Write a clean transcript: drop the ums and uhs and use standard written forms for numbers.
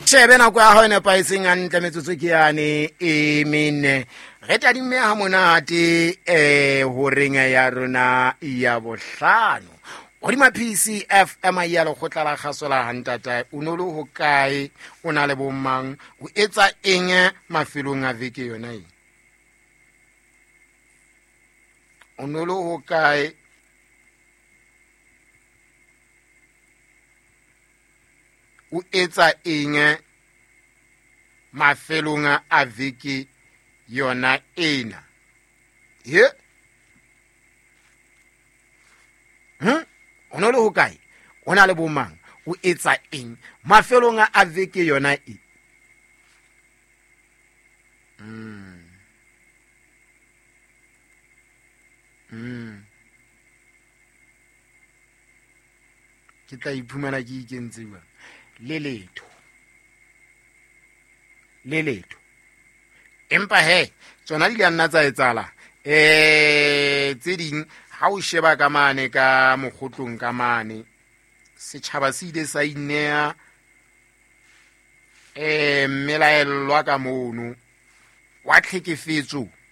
Shebe nako ya hao e nepahetseng hantle, metsotso ke yane e mene. Re tadimme ha monate horeng ya rona ya bohlano. Hodima PCFM ya lekgotla la kgaso la hantatae, o no le hokae, o na le bomang, o etsa eng mafelong a veke yona e? O no le hokae? O etsa eng mafelong a veke yona ena? He? O no le hokae? O na le bomang? O etsa eng mafelong a veke yona e? Ke tla iphumana ke ikentse jwang? Le letho. Le letho. Empa he, tsona di ka nna tsa etsahala. Tse ding, ha o sheba ka mane ka mokgotlong ka mane, setjhaba se ile sa ineha, mmelaellwa ka mono wa tlhekefetso.